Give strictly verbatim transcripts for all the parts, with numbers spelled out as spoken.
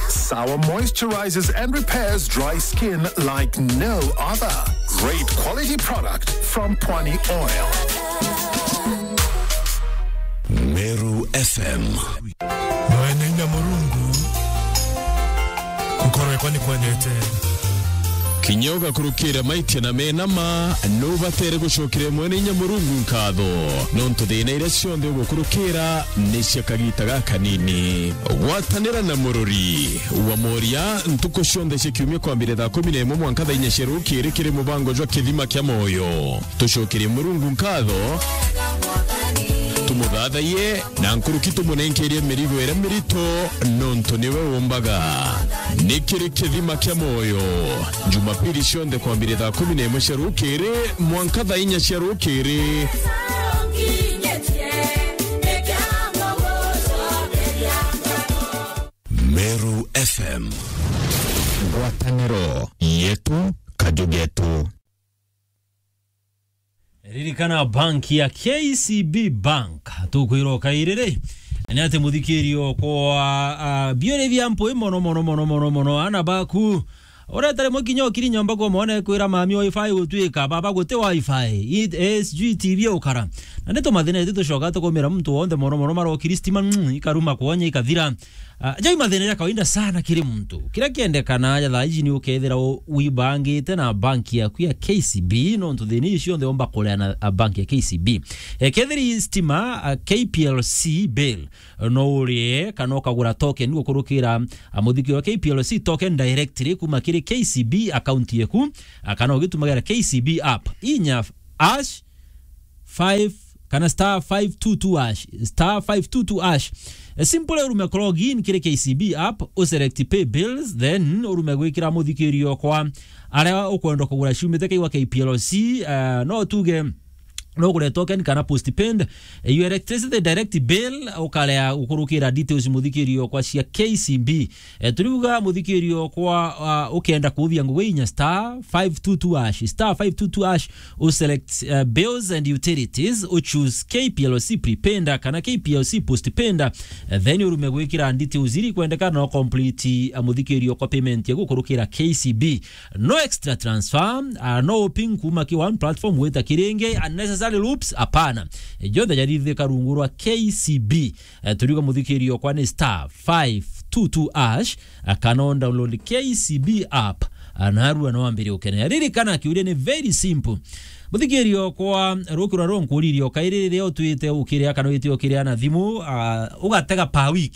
Sawa moisturizes and repairs dry skin like no other. Great quality product from Pwani Oil. Meru F M. Mwene inya Murungu, gukorwe kwa ni kwendete. Kinya ugakurukira maitia na mena ma, nubatere gucokeria Mwene inya Murungu nkatho, nontu thina iria cionthe ugukurukira ni cia kagita gakanini. Gwatanira na Mururi wa Moria ntuku cionthe cia kiumia kwambire thaa kumi na imwe mwanka thaa inya cia rukiri kiri mubango jwa Kithima kia Moyo. Tucokerie Murungu nkatho, tumuthathaiye, na nkuruki tumunenkerie mirigo iria mirito, nontu niwe umbaga. Ni kiri Kithima kia Moyo, Jumapili cionthe kwambire thaa kumi na imwe cia rukiri mwanka thaa inya cia rukiri. Meru F M. Ngwataniro yetu, kaju getu. Ririkana bank ya K C B Bank, tukwira ukairiri, ni ati muthikirio kwa, ah, biuri bia mpui mono, mono, mono, mono, mono, ana baku. Ureta rimwe kinya ukiri nyomba kwa mwana ekwira, "Mami, wifi gutwika, baba guti wifi, i-, eh, sijui T V ukara." Na ni tumathina itu tucoka tukumira muntu wonthe mono, mono, marokiri stima, mm, ikaruma kwonya ikathira. Ah, jau mathina ja kawaida sana kiri muntu. Kiria kiendekana ja thaa iji ni ukethira u-, wibangite na bank yaku ya K C B, nontu thina ici cionthe omba kurea na, a, bank ya K C B. Ekethira i stima, a, K P L C bill, no urie kana ukagura token gukurukira, a, muthikio wa K P L C token directly kuma kiri K C B account yaku, a, kana ugitumagira K C B app. Inya hash five kana star five two two hash, star five two two hash. Eh, simple, urume ku log in kiri K C B app, u select pay bills, then urume gwikira muthikirio kwa aria ukwenda kugura ciumite kaigwa K P L C, eh, no tuge no ugure token kana postpaid, eh, your electricity direct bill, ukarea gukurukira details muthikirio kwa cia K C B. Eh, turiuga muthikirio kwa, ah, ukenda kuthia ngugi inya star five two two hash, star five two two hash, u select, eh, bills and utilities, u choose K P L C prepaid kana K P L C postpaid, eh, then urume gwikira details iri kwendekana no complete, eh, muthikirio kwa payment ya gukurukira K C B. No extra transfer, ah, no pin kuma ki one platform wita kiringi, unnecessary loops, apana. Eh, jonthe jarithika rungu rwa K C B. Eh, turiuga muthikirio kwa ni star five two two hash, eh, kana download K C B app, eh, narua no ambire ukenea. Ririkana kiuria ni very simple. Muthikirio kwa rukirwa ro nkuririo kairi riria utwite ukiria kana wite ukiria na thimu, ah, ugatega per week.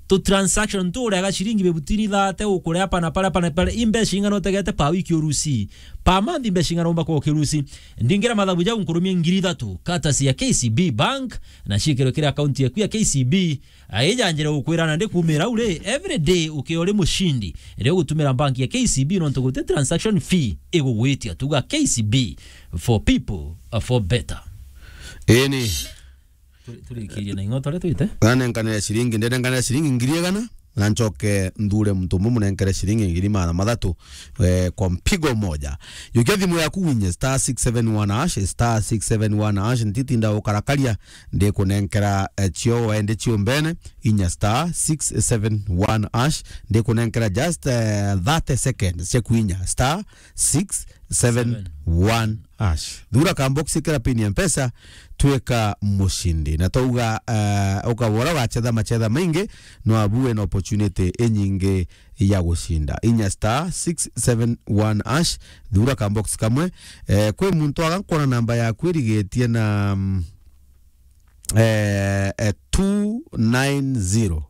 Tu transaction tu ureaga ciringi bibutini thate ukurea pana pale pana pale, imbeca ing'ana utegete per week urusi. Per month imbeca ing'ana umba kwa ukirusi. Ndingira mathabu jau nkurumie ngiri ithatu, courtesy ya K C B Bank, na ciikirwe kiri account yaku ya K C B, a, ijanjire gukwira na ndikumira u ri, every day ukiori mucindi, ri ugutumira bank ya K C B nontu guti transaction fee igugwitia. Tuga K C B for people, uh, for better. Ini. Turi-, turikirie na ing'oto ria twite. Nanenkanire ciringi, ndenenkanire ciringi ngiri igana. Na ncoke nthure muntu umwe munenkere ciringi ngiri magana mathatu, eh, kwa mpigo moja. Yukia thimu yaku winye star six seven one hash, star six seven one hash, ntitinda ukarakaria, ndikunenkera, eh, cio wende cio mbene, inya star six seven one hash, ndikunenkera just, eh, thirty seconds cia kwinya star six seven one hash. Thura ka box kira pin ya Mpesa, twika mucindi. Na twauga, eh, ukabora ugachetha machetha maingi, no abu wina opportunity inyingi ya gucinda. Inya star six seven one hash, thura ka box kamwe. Eh, kwi muntu aga nkwona namba yaku irigitie na, mm, eh, eh, two nine zero.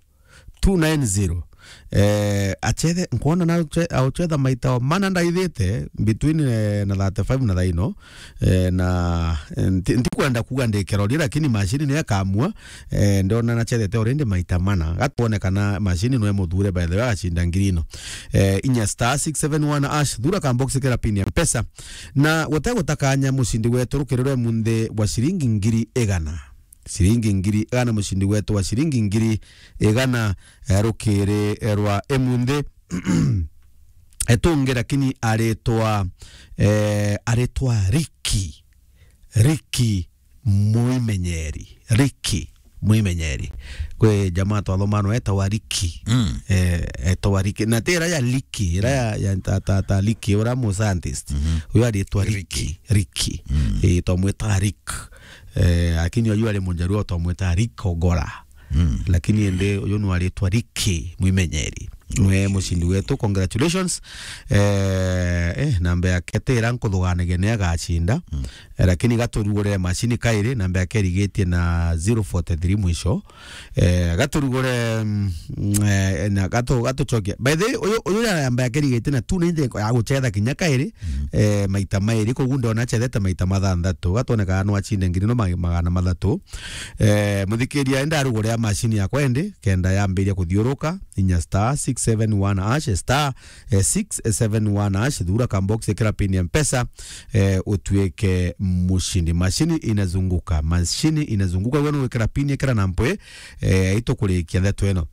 Two nine zero. Eh, achethe, nkwona na ache-, auchetha maita o mana ndaithite between, eh, na thirty-five na thaino. Eh, na, eh, nti-, ntikwenda kuga ndi kiroria, lakini machine niyo ikamua. Eh, ndona nachethete already maita mana. Gatwone kana machine niyo imuthure, by the way, agacinda ngiri ino. Eh, inya star six seven one hash, thura ka box kira pin ya Mpesa. Na gute gutakanya mucindi wetu rukiri rwa munthi bwa ciringi ngiri igana. Ciringi ngiri igana, mucindi wetu wa ciringi ngiri igana, eh, rukiri, eh, rwa imunthi. Etungi lakini aritwa, eh, aritwa Ricky. Ricky Muimenyeri. Ricky. mwimenyeri. Kwi jamaa twathoma no etagwa Ricky. Mm. Eh, etagwa Ricky. Na ti ira ya Liki, ira ya, ya ta, ta, ta Liki, ura mu scientist. Mhm. Uyu aritwa Ricky. Ricky. Ricky. Mm. Eh, twamwita Rick. Eh, lakini uyu ari Mujaluo twamwita Rick Ogora. Mm. Lakini indi uyu no aritwa Ricky mwimenyeri. Nwe mucindi wetu, congratulations. Eh, eh, namba yake ti ira nkuthuganagia ni agacinda. Mm. Eh, lakini gaturugurire macini kairi, namba yake irigitie na zero forty three mwisho. Eh, gaturugure, mm, eh, na gatu-, gatucokia. By the way, uyu, uyu ya namba yake irigitie na two ninety ya gucetha kinya kairi, mm, eh, maita mairi, koguo ndona acethete maita mathanthatu. Gatwoneka no acinde ngiri no ma-, magana mathatu. Eh, muthikiria, enda arugure ya macini yakwa indi, kenda yambiria kuthiuruka, inya star six seven one hash, star, eh, six seven one hash, thura ka box, ikira pin ya Mpesa, eh, utuike mushindi. Mashini inazunguka, mashini inazunguka, wewe wikira pin, ikira na mpwe, eh, itukurikia ndeto ino.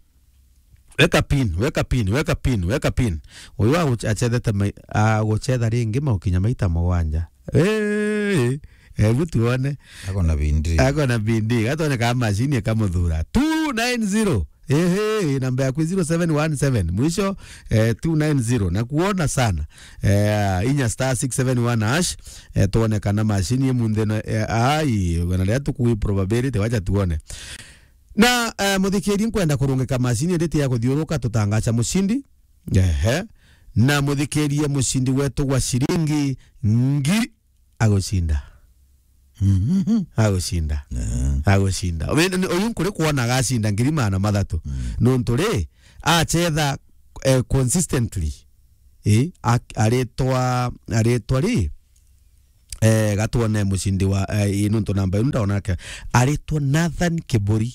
Weka pin, weka pin, weka pin, weka pin. Uyu agu-, acethete mai-, agucetha ringi maukinya maita mugwanja. Eh, eh, ebu tuone. Ako na bindi. Ako na bindi. Gatone ka mashini ikamuthura. Two nine zero. Ehe, namba yaku zero seven one seven. Mwisho, eh, two nine zero. Na kuona sana. Eh, inya star six seven one hash. Eh, tuone kana mashini imunthi no, eh, ai, wena ria tukuwi probability, wacha tuone. Na, eh, muthikiria, nkwenda kurungika mashini indi ti ya kuthiuruka, tutangaca mushindi. Ehe. Na muthikiria, mushindi wetu wa shilingi ngiri agucinda. Mhm. Agucinda. Eh. Agucinda. Uyu nkuri kuona agacinda ngiri magana mathatu. Mm. Nontu ri, acetha, eh, consistently. Eh, a-, aritwa, aritwa ri, eh, gatwone mucindi wa, eh, ii nontu namba iu ndaona ake. Aritwa Nathan Kiburi.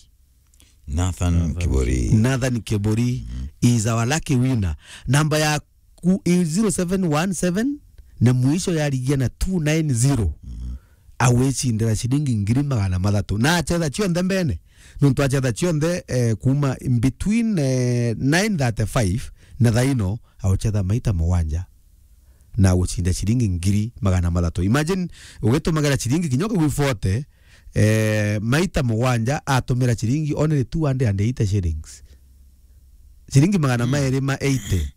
Nathan Kiburi. Nathan Kiburi is our lucky winner. Namba yaku i zero seven one seven na mwisho yarigia na two nine zero. Mhm. Agwicindira ciringi ngiri magana mathatu. Na acetha cionthe mbene. Nontu acetha cionthe, eh, kuma in between, eh, nine thirty-five na thaino, aucetha maita mugwanja na gucinda ciringi ngiri magana mathatu. Imagine, ugitumagira ciringi kinya ukigwi forty, eh, maita mugwanja atumira ciringi only two hundred and eighty shillings. Ciringi magana mairi ma eighty.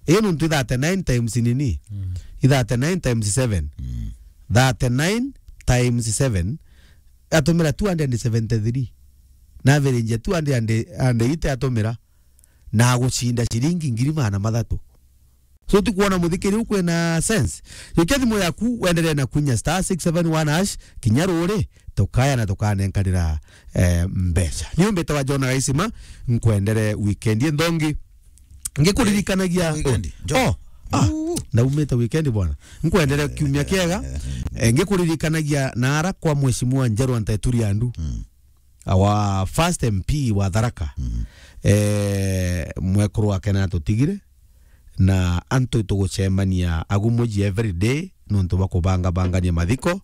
Iyo nontu i thirty-nine times nini? Mm. I thirty-nine times seven. Mm. Thirty-nine times seven, atumira two hundred and seventy-three. Na average ya two hundred and eighty atumira, na agucinda ciringi ngiri magana mathatu. So, ti kuona muthikiri u kwina sense. Jukia thimu yaku, wendelee na kwinya star six seven one hash, kinya ruri, tukaya na tukanenkanira, eh, mbeca. Ni umbite wa John Gaisima, nkwendere weekend inthongi. Ngikuririkanagia, eh, weekend, John. Oh, ah, ndaumite weekend bwana. Nkwendere kiumia kiega. Eh, ngikuririkanagia na ara kwa Mheshimiwa Njerwa Nteturi Andu. Mm. Our first M P wa Tharaka. Mm. Eh, mwekuru wake natutigire, na antu tugucemania agu muji every day nontu bwa kubangabangania mathiko,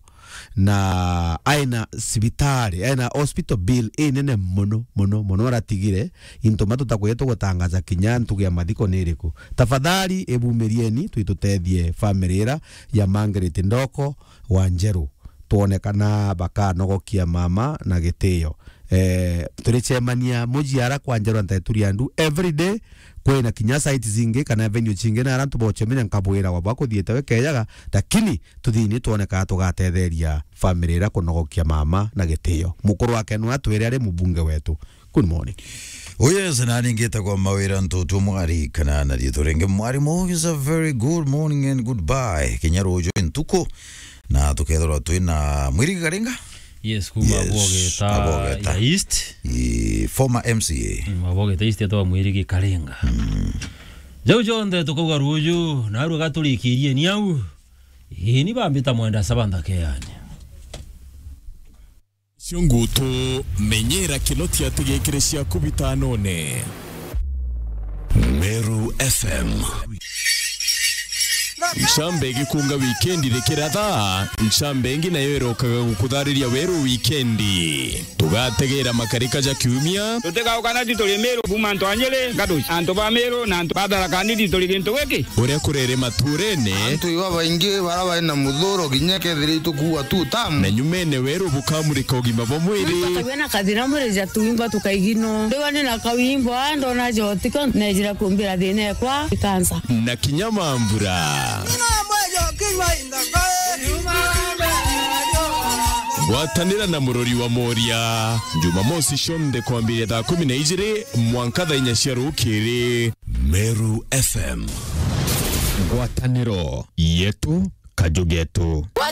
na aina cibitari, aina hospital bill inene muno, muno, muno aratigire. Into ma tutakwija tugutangaza kinya ntugu ya mathiko ni iriku. Tafadhali, ibumirieni, twitutethie family ira ya Margaret Ndoko wa Njeru. Twone kana bakanogokia mama na gitio. Eh, turicemania muji ara kwa Njerwa Nteturi Andu every day. Kwina kinya site zingi kana venue cingi na ara antu bocemania nkabwira wa bakuthiite we kejaga, lakini tuthini twone kana tugatetheria family ira kunogokia mama na gitio. Mukuru wake nwe atwire ari mubunge wetu. Good morning. Oh yes, na ningitagwa Mawira Ntutu Mwari, kana na riitwa ringi Mwarimu. Is a very good morning and goodbye. Kinya ruju ntuku, na tukethirwa twina Mwirigi Karinga. Yes, kuma Yes, Abogeta Abogeta. Ya East. I, former M C A. Mm, Abogeta East etwa Mwirigi Karinga. Mm. Jau jonthe tukauga ruju, narua gaturikirie ni au. Ii ni bambita mwenda saba nthake yani. Cio ngutu, menyera kino tiatigikire ciaku bitanone. Meru F M. Ncambe igikunga wikendi rikiratha, ncambe ingi nayo irokaga gukuthariria weru wikendi. Tugategera makarika ja kiumia. Tutigaukana ti turi Miru kuuma antu a Nyeri, Ngatuci, antu ba Miru na antu ba Tharaka Nithi turi gintu giki. Uria kurere maturene. Antu iba baingi bara bari na muthuro kinya kethira itukuua tu tamu. Na nyumene weru bukamurika ugima bwa mwiri. Muntu akagĩa na kathĩna mwĩrĩ ja tuimba tũkaigino. Ndĩwa nĩ na kawimbo, aa, ndona jotiko, nejira kumbira thĩna ekwa ikansa. Na kinya mambura. Gwatanĩra na Mũrori wa Moria, Jumamosi cionthe kwambĩrĩria thaa kũmi na ijĩrĩ mwanka thaa inya cia rũkĩrĩ. Meru F M. Ngwatanĩro yetu, kaju getu.